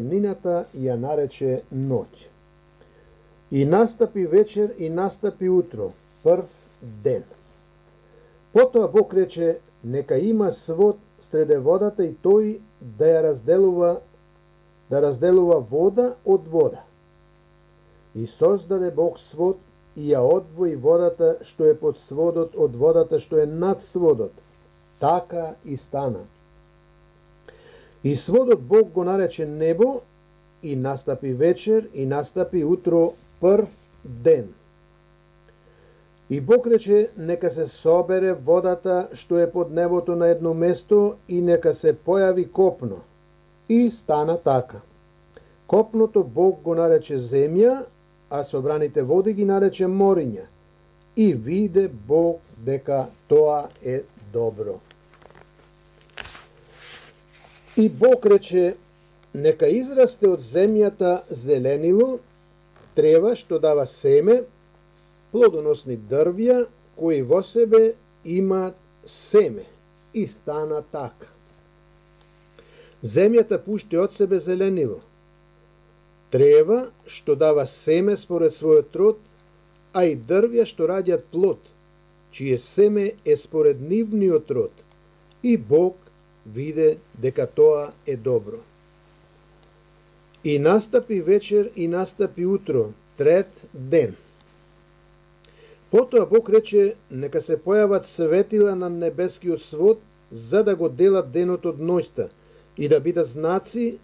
Нината ја нарече ноќ. И настапи вечер и настапи утро, прв ден. Потоа Бог рече, нека има свод среде водата и тој да ја разделува вода од вода. И создаде Бог свод и ја одвои водата што е под сводот од водата што е над сводот. Така и стана. И сводот Бог го нарече небо, и настапи вечер, и настапи утро, прв ден. И Бог рече, нека се собере водата што е под небото на едно место и нека се појави копно. И стана така. Копното Бог го нарече земја, а собраните води ги нарече мориња. И виде Бог дека тоа е добро. И Бог рече, нека израсте од земјата зеленило, трева што дава семе, плодоносни дрвја, кои во себе имаат семе. И стана така. Земјата пушти од себе зеленило, трева што дава семе според својот род, а и дрвја што раѓаат плод, чие семе е според нивниот род. И Бог виде дека тоа е добро. И настапи вечер и настапи утро, трет ден. Потоа Бог рече, нека се појават светила на небескиот свод, за да го делат денот од ноќта, и да бидат знаци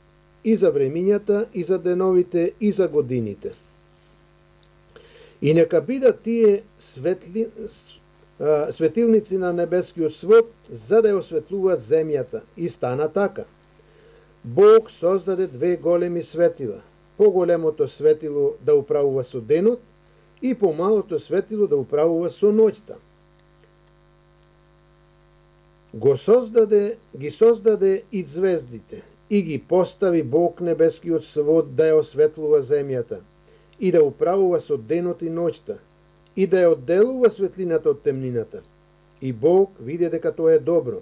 и за времињата, и за деновите, и за годините. И нека бидат тие светилници на небескиот свод, за да ја осветлуваат земјата. И стана така. Бог создаде две големи светила. Поголемото светило да управува со денот и помалото светило да управува со ноќта. Ги создаде и звездите и ги постави Бог небескиот свод да ја осветлува земјата и да управува со денот и ноќта и да ја одделува светлината од темнината. И Бог виде дека тоа е добро.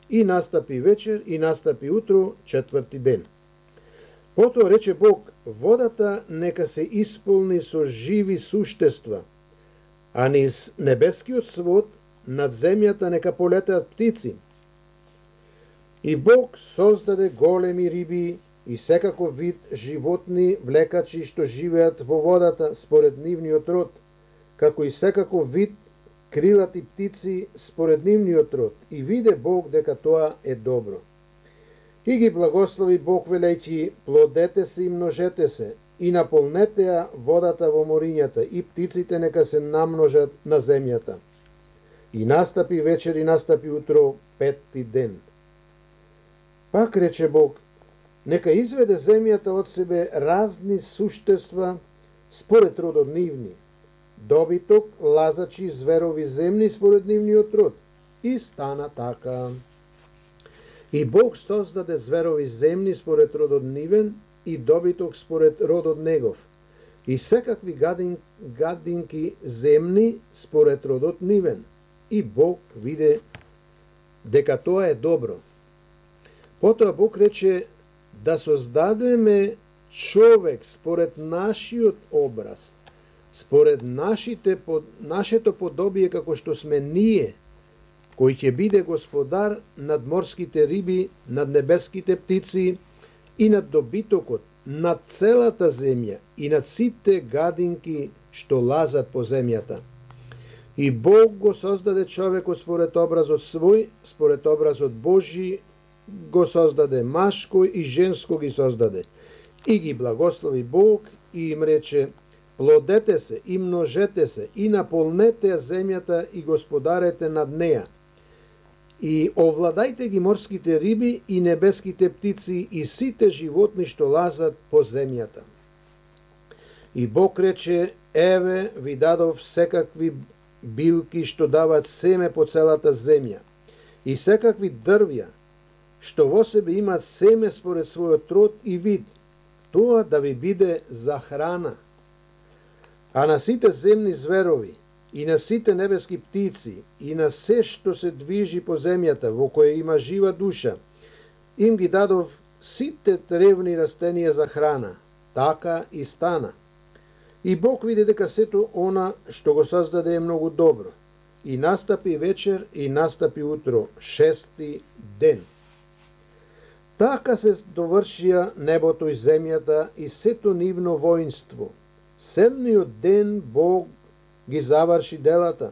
И настапи вечер и настапи утро, четврти ден. Потоа рече Бог, водата нека се исполни со живи суштества, а низ небескиот свод над земјата нека полетеат птици. И Бог создаде големи риби и секаков вид животни влекачи што живеат во водата според нивниот род, како и секаков вид крилати птици според нивниот род. И виде Бог дека тоа е добро. И ги благослови Бог велејќи, плодете се и множете се, и наполнете ја водата во морињата, и птиците нека се намножат на земјата. И настапи вечер и настапи утро, петти ден. Пак рече Бог, нека изведе земјата од себе разни суштества според родот нивни, добиток, лазачи, зверови земни според нивниот род. И стана така. И Бог создаде зверови земни според родот нивен и добиток според родот негов, и секакви гадинки земни според родот нивен. И Бог виде дека тоа е добро. Потоа Бог рече да создадеме човек според нашиот образ, според нашето подобие како што сме ние, кој ќе биде господар над морските риби, над небеските птици и над добитокот, над целата земја и над сите гадинки што лазат по земјата. И Бог го создаде човекот според образот свој, според образот Божи го создаде, машко и женско ги создаде. И ги благослови Бог и им рече, плодете се и множете се и наполнете ја земјата и господарете над неја. И овладајте ги морските риби и небеските птици и сите животни што лазат по земјата. И Бог рече, еве ви дадов секакви билки што дават семе по целата земја и секакви дрвја што во себе имаат семе според својот род и вид, тоа да ви биде за храна. А на сите земни зверови, и на сите небески птици, и на се што се движи по земјата, во која има жива душа, им ги дадов сите тревни растенија за храна. Така и стана. И Бог види дека сето она што го создаде е многу добро. И настапи вечер и настапи утро, 6-ти ден. Така се довршија небото и земјата и сето нивно воинство. 7-миот ден Бог ги заврши делата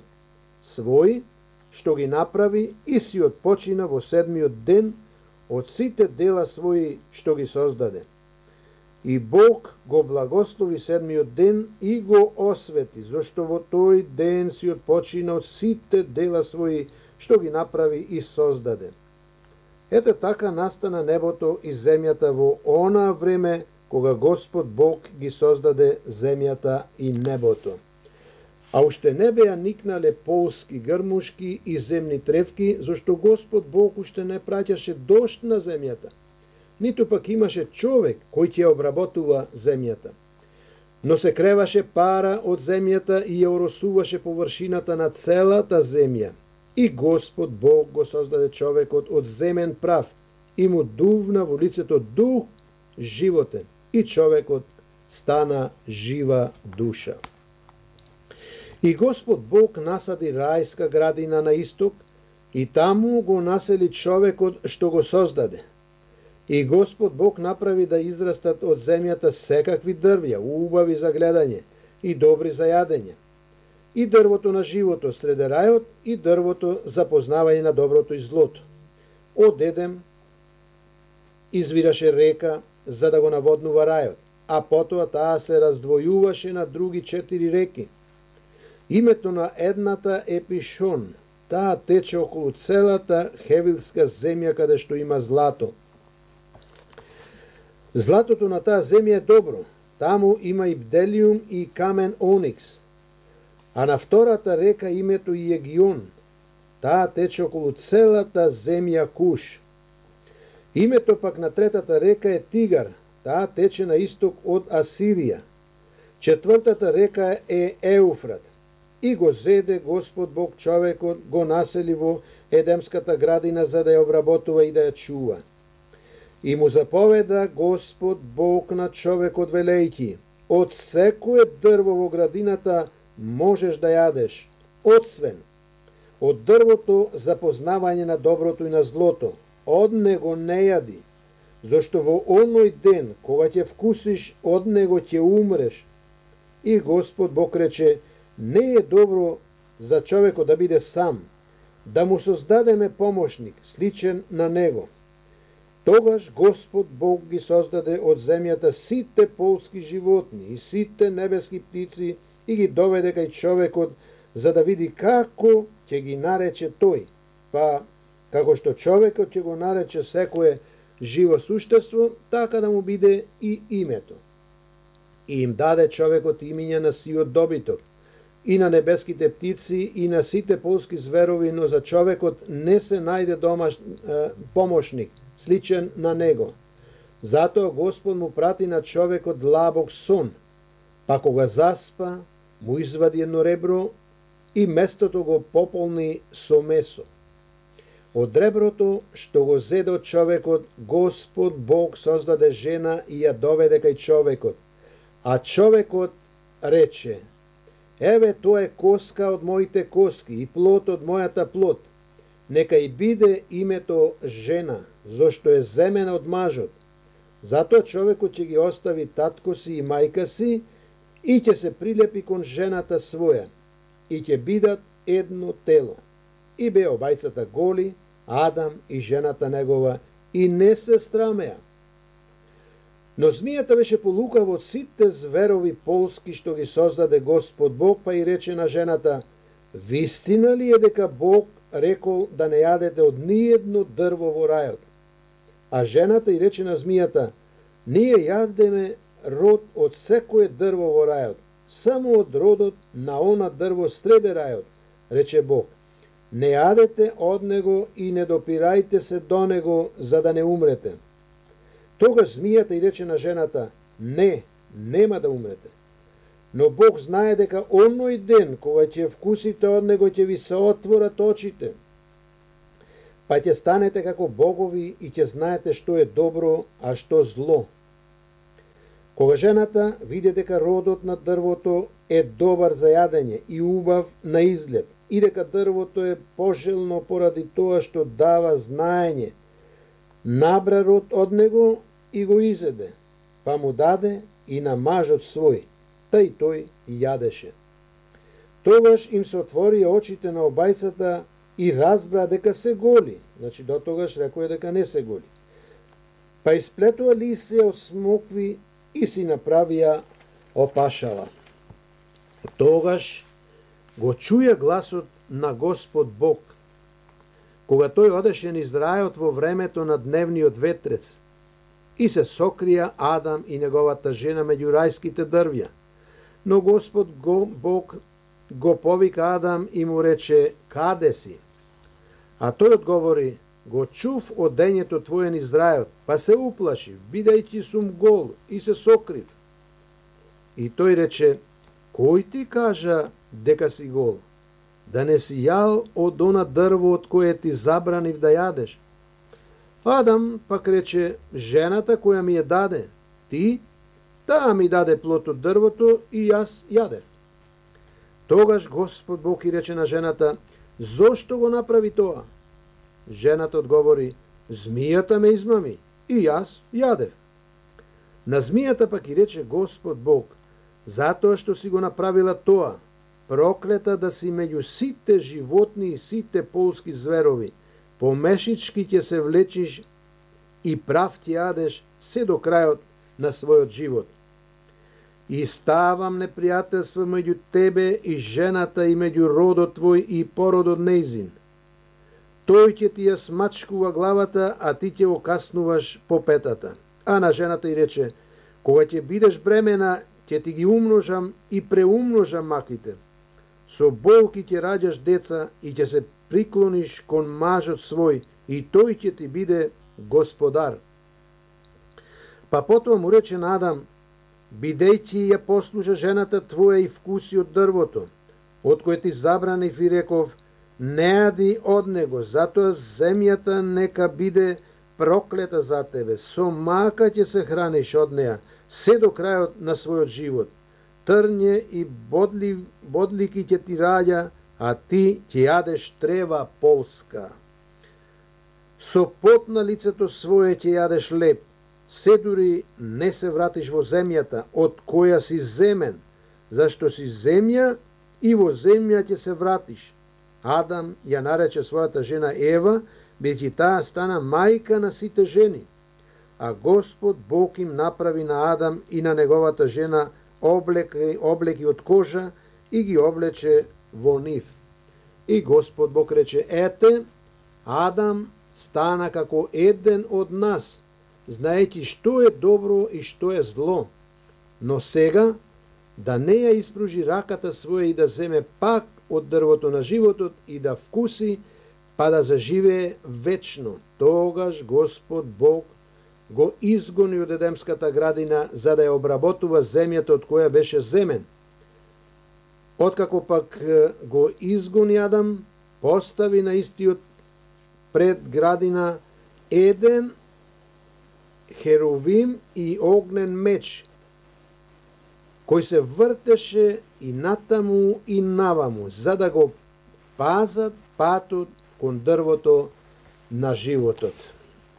своји, што ги направи и си отпочина во 7-миот ден од сите дела своји што ги создаде. И Бог го благослови 7-миот ден и го освети, зашто во тој ден си отпочина од сите дела своји што ги направи и создаде. Ете така настана небото и земјата во онаа време кога Господ Бог ги создаде земјата и небото. А уште не беа никнале полски грмушки и земни тревки, зашто Господ Бог уште не праќаше дожд на земјата, ниту пак имаше човек кој ќе обработува земјата. Но се креваше пара од земјата и ја оросуваше површината на целата земја. И Господ Бог го создаде човекот од земен прав и му дувна во лицето дух животен, и човекот стана жива душа. И Господ Бог насади рајска градина на исток и таму го насели човекот што го создаде. И Господ Бог направи да израстат од земјата секакви дрвја, убави за гледање и добри за јадење. И дрвото на живото среде рајот и дрвото за познавање на доброто и злото. Од Едем извираше река за да го наводнува рајот, а потоа таа се раздвојуваше на други 4 реки. Името на едната е Пишон, таа тече околу целата хевилска земја каде што има злато. Златото на таа земја е добро, таму има и бделиум и камен оникс. А на втората река името и Егион, таа тече околу целата земја Куш. Името пак на третата река е Тигар, таа тече на исток од Асирија. Четвртата река е Еуфрат. И го зеде Господ Бог човекот, го насели во Едемската градина за да ја обработува и да ја чува. И му заповеда Господ Бог на човекот велејќи: од секое дрво во градината можеш да јадеш, освен од дрвото за познавање на доброто и на злото, од него не јади, зашто во оној ден кога ќе вкусиш од него ќе умреш. И Господ Бог рече: не е добро за човекот да биде сам, да му создадеме помошник, сличен на него. Тогаш Господ Бог ги создаде од земјата сите полски животни и сите небески птици и ги доведе кај човекот за да види како ќе ги нарече тој, па како што човекот ќе го нарече секое живо суштество, така да му биде и името. И им даде човекот имиња на сиот добиток, и на небеските птици, и на сите полски зверови, но за човекот не се најде помошник, сличен на него. Затоа Господ му прати на човекот длабок сон, па кога заспа, му извади едно ребро и местото го пополни со месо. Од реброто што го зеде од човекот, Господ Бог создаде жена и ја доведе кај човекот. А човекот рече: еве тоа е коска од моите коски и плод од мојата плод. Нека и биде името жена, зашто е земена од мажот. Затоа човекот ќе ги остави татко си и мајка си и ќе се прилепи кон жената своја и ќе бидат едно тело. И беа обајцата голи, Адам и жената негова, и не се срамеа. Но змијата беше полукава од сите зверови полски што ги создаде Господ Бог, па и рече на жената: вистина ли е дека Бог рекол да не јадете од ниедно дрво во рајот? А жената и рече на змијата: ние јадеме род од секое дрво во рајот, само од родот на она дрво среде рајот, рече Бог. Не јадете од него и не допирајте се до него, за да не умрете. Тогаш змијата и рече на жената: не, нема да умрете. Но Бог знае дека оној ден кога ќе вкусите од него ќе ви се отворат очите, па ќе станете како богови и ќе знаете што е добро, а што зло. Кога жената види дека родот на дрвото е добар за јадење и убав на изглед, и дека дрвото е пожелно поради тоа што дава знаење, набра род од него и го изеде, па му даде и на мажот свој, тај тој јадеше. Тогаш им се отвори очите на обајцата и разбра дека се голи, значи до тогаш рекоа дека не се голи. Па исплетува лисе од смокви и си направија опашала. Тогаш го чуја гласот на Господ Бог, кога тој одеше низ рајот во времето на дневниот ветрец, и се сокрија Адам и неговата жена меѓу рајските дрвја. Но Господ Бог го повика Адам и му рече: каде си? А тој одговори: го чув од дењето твое низ рајот, па се уплашив, бидејќи сум гол и се сокрив. И тој рече: кој ти кажа дека си гол? Да не си јал од она дрво од кое ти забранив да јадеш? Адам пак рече: жената која ми ја даде ти, таа ми даде плод од дрвото и јас јадев. Тогаш Господ Бог и рече на жената: зошто го направи тоа? Жената одговори: змијата ме измами и јас јадев. На змијата пак и рече Господ Бог: затоа што си го направила тоа, проклета да си меѓу сите животни и сите полски зверови, помешички ќе се влечиш и прав ќе јадеш се до крајот на својот живот. И ставам непријателство меѓу тебе и жената и меѓу родот твој и породот нејзин. Тој ќе ти ја смачкува главата, а ти ќе окаснуваш по петата. А на жената и рече: кога ќе бидеш бремена, ќе ти ги умножам и преумножам маките. Со болки ќе раѓаш деца и ќе се приклониш кон мажот свој и тој ќе ти биде господар. Па потоа му рече на Адам: бидејќи ја послуша жената твоја и вкуси од дрвото, од кое ти забранив и реков: не јади од него, затоа земјата нека биде проклета за тебе, со мака ќе се храниш од неа, се до крајот на својот живот. Трње и бодлики ќе ти раѓа, а ти ќе јадеш трева полска. Со пот на лицето свое ќе јадеш леп, се дури не се вратиш во земјата, од која си земен, зашто си земја и во земја ќе се вратиш. Адам ја нарече својата жена Ева, бидејќи таа стана мајка на сите жени. А Господ Бог им направи на Адам и на неговата жена облеки од кожа и ги облече во нив. И Господ Бог рече: ете, Адам стана како еден од нас, знаејќи што е добро и што е зло. Но сега да не ја испружи раката своја и да земе пак од дрвото на животот и да вкуси, па да заживее вечно. Тогаш Господ Бог го изгони од Едемската градина за да ја обработува земјата од која беше земен. Откако пак го изгони Адам, постави на истиот пред градина еден херовим и огнен меч, кој се вртеше и натаму и наваму, за да го пазат патот кон дрвото на животот.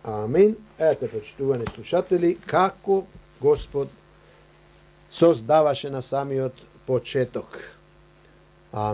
Амин. Ете, почитувани слушатели, како Господ создаваше на самиот почеток.